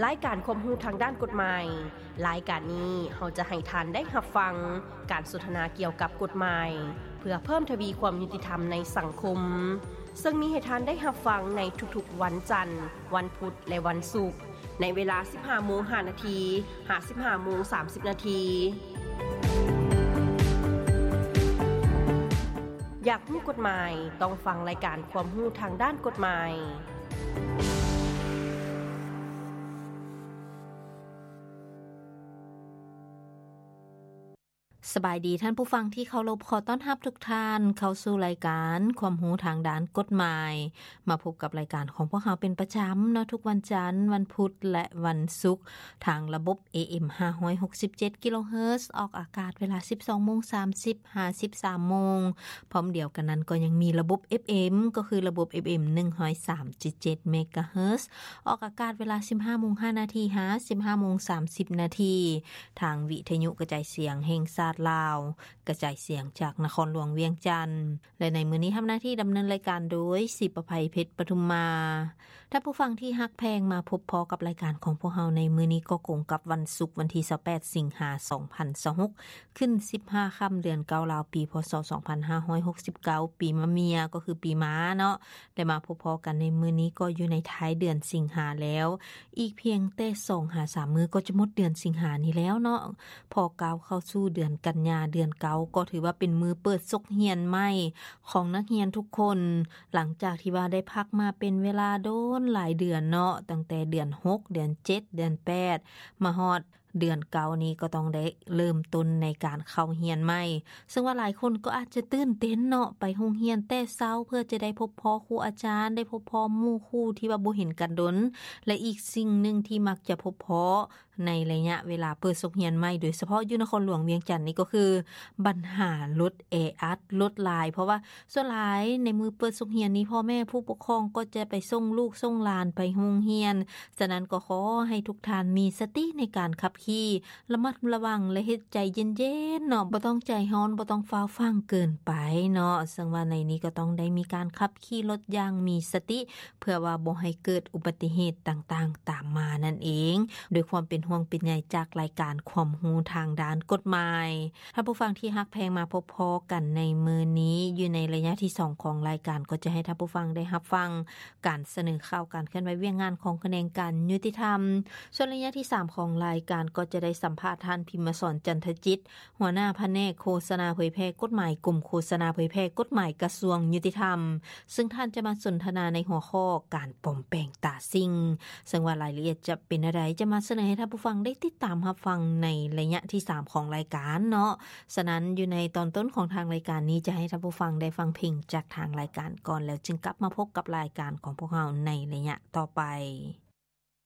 ລາຍການຄວາມຮູ້ທາງດ້ານກົດໝາຍ. ລາຍການນີ້ເຮົາຈະໃຫ້ທ່ານໄດ້ຮັບຟັງການສົນທະນາກ່ຽວກັບກົດໝາຍ ເພື່ອເພີ່ມທະວີຄວາມຍຸຕິທຳໃນສັງຄົມ, ເຊິ່ງມີໃຫ້ທ່ານໄດ້ຮັບຟັງໃນທຸກໆວັນຈັນ, ວັນພຸດ ແລະ ວັນສຸກ ໃນເວລາສິບຫ້າໂມງຫ້ານາທີ ຫາ ສິບຫ້າໂມງສາມສິບນາທີ. ຢາກຮູ້ກົດໝາຍ? ຕ້ອງຟັງລາຍການຄວາມຮູ້ທາງດ້ານກົດໝາຍ. ສະບາຍດີທ່ານຜູ້ຟັງທີ່ເຄົາລົບ, ຂໍຕ້ອນຮັບທຸກທ່ານເຂົ້າສູ່ລາຍການຄວາມຮູ້ທາງດ້ານກົດໝາຍ. ມາພົບກັບລາຍການຂອງພວກເຮົາເປັນປະຈຳເນາະ, ທຸກວັນຈັນ, ວັນພຸດ ແລະ ວັນສຸກ ທາງລະບົບ ເອເອັມ ຫ້າຮ້ອຍຫົກສິບເຈັດກິໂລເຮີດ ອອກອາກາດເວລາສິບສອງໂມງສາມສິບ ຫາ ສິບສາມໂມງ. ພ້ອມດຽວກັນນັ້ນກໍຍັງມີລະບົບ ເອັຟເອັມ ກໍຄືລະບົບ ເອັຟເອັມ ໜຶ່ງຮ້ອຍສາມຈຸດເຈັດເມກາເຮີດ ອອກອາກາດເວລາສິບຫ້າໂມງຫ້ານາທີ ຫາ ສິບຫ້າໂມງສາມສິບນາທີ ທາງວິທະຍຸກະຈາຍສຽງແຫ່ງຊາດລາວ ກະຈາຍສຽງຈາກນະຄອນຫຼວງວຽງຈັນ. ແລະ ໃນມື້ນີ້ທຳໜ້າທີ່ດຳເນີນລາຍການໂດຍ ສີປະໄພ ເພັດປະທຸມມາ. ທ່ານຜູ້ຟັງທີ່ຮັກແພງ, ມາພົບພໍ້ກັບລາຍການຂອງພວກເຮົາໃນມື້ນີ້ກໍກົງກັບວັນສຸກ ວັນທີຊາວແປດ ສິງຫາ ສອງພັນຊາວຫົກ ຂຶ້ນສິບຫ້າຄ່ຳເດືອນເກົ້າລາວ ປີ ພ.ສ. ສອງພັນຫ້າຮ້ອຍຫົກສິບເກົ້າ ປີມະເມຍ ກໍຄືປີມ້າເນາະ. ໄດ້ມາພົບພໍ້ກັນໃນມື້ນີ້ກໍຢູ່ໃນທ້າຍເດືອນສິງຫາແລ້ວ, ອີກພຽງແຕ່ສອງຫາສາມມື້ກໍຈະໝົດເດືອນສິງຫານີ້ແລ້ວເນາະ. ພໍກ້າວເຂົ້າສູ່ເດືອນກັນຍາ ເດືອນເກົ້າ ກໍຖືວ່າເປັນມື້ເປີດສົກຮຽນໃໝ່ຂອງນັກຮຽນທຸກຄົນ, ຫຼັງຈາກທີ່ວ່າໄດ້ພັກມາເປັນເວລາດົນຫຼາຍເດືອນເນາະ, ຕັ້ງແຕ່ເດືອນຫົກ ເດືອນເຈັດ ເດືອນແປດ ມາຮອດເດືອນເກົ້ານີ້ກໍຕ້ອງໄດ້ເລີ່ມຕົ້ນໃນການເຂົ້າຮຽນໃໝ່. ເຊິ່ງວ່າຫຼາຍຄົນກໍອາດຈະຕື່ນເຕັ້ນເນາະ, ໄປໂຮງຮຽນແຕ່ເຊົ້າເພື່ອຈະໄດ້ພົບພໍ້ຄູອາຈານ, ໄດ້ພົບພໍ້ໝູ່ຄູ່ທີ່ວ່າບໍ່ເຫັນກັນດົນ. ແລະ ອີກສິ່ງໜຶ່ງທີ່ມັກຈະພົບພໍ້ ໃນໄລຍະເວລາເປີດສົກຮຽນໃໝ່ ໂດຍສະເພາະຢູ່ນະຄອນຫຼວງວຽງຈັນນີ້ ກໍຄືບັນຫາລົດແອອັດ, ລົດຫຼາຍ, ເພາະວ່າສ່ວນຫຼາຍໃນມື້ເປີດສົກຮຽນນີ້ ພໍ່ແມ່ຜູ້ປົກຄອງກໍຈະໄປສົ່ງລູກສົ່ງຫຼານໄປໂຮງຮຽນ. ສະນັ້ນກໍຂໍໃຫ້ທຸກທ່ານມີສະຕິໃນການຂັບຂີ່, ລະມັດລະວັງ ແລະ ເຮັດໃຈເຢັນໆເນາະ, ບໍ່ຕ້ອງໃຈຮ້ອນ, ບໍ່ຕ້ອງຟ້າວຟັ່ງເກີນໄປເນາະ. ເຊິ່ງວ່າໃນນີ້ກໍຕ້ອງໄດ້ມີການຂັບຂີ່ລົດຢ່າງມີສະຕິ ເພື່ອວ່າບໍ່ໃຫ້ເກີດອຸບັດຕິເຫດຕ່າງໆຕາມມານັ້ນເອງ, ດ້ວຍຄວາມເປັນຫ່ວງເປັນໃຍຈາກລາຍການຄວາມຮູ້ທາງດ້ານກົດໝາຍ. ທ່ານຜູ້ຟັງທີ່ຮັກແພງ, ມາພົບພໍ້ກັນໃນມື້ນີ້ ຢູ່ໃນໄລຍະທີສອງຂອງລາຍການ ກໍຈະໃຫ້ທ່ານຜູ້ຟັງໄດ້ຮັບຟັງການສະເໜີຂ່າວການເຄື່ອນໄຫວວຽກງານຂອງຂະແໜງການຍຸຕິທຳ. ສ່ວນໄລຍະທີສາມຂອງລາຍການ ກໍຈະໄດ້ສຳພາດທ່ານ ພິມມະສອນ ຈັນທະຈິດ, ຫົວໜ້າພະແນກໂຄສະນາເຜີຍແຜ່ກົດໝາຍ ກົມໂຄສະນາເຜີຍແຜ່ກົດໝາຍ ກະຊວງຍຸຕິທຳ, ເຊິ່ງທ່ານຈະມາສົນທະນາໃນຫົວຂໍ້ການປອມແປງຕາສິ່ງ, ເຊິ່ງວ່າລາຍລະອຽດຈະເປັນແນວໃດ ຈະມາສະເໜີໃຫ້ທ່ານຜູ້ຟັງໄດ້ຕິດຕາມຮັບຟັງໃນໄລຍະທີສາມຂອງລາຍການເນາະ. ສະນັ້ນ ຢູ່ໃນຕອນຕົ້ນຂອງທາງລາຍການນີ້ ຈະໃຫ້ທ່ານຜູ້ຟັງໄດ້ຟັງເພງຈາກທາງລາຍການກ່ອນ ແລ້ວຈຶ່ງກັບມາພົບກັບລາຍການຂອງພວກເຮົາໃນໄລຍະຕໍ່ໄປ.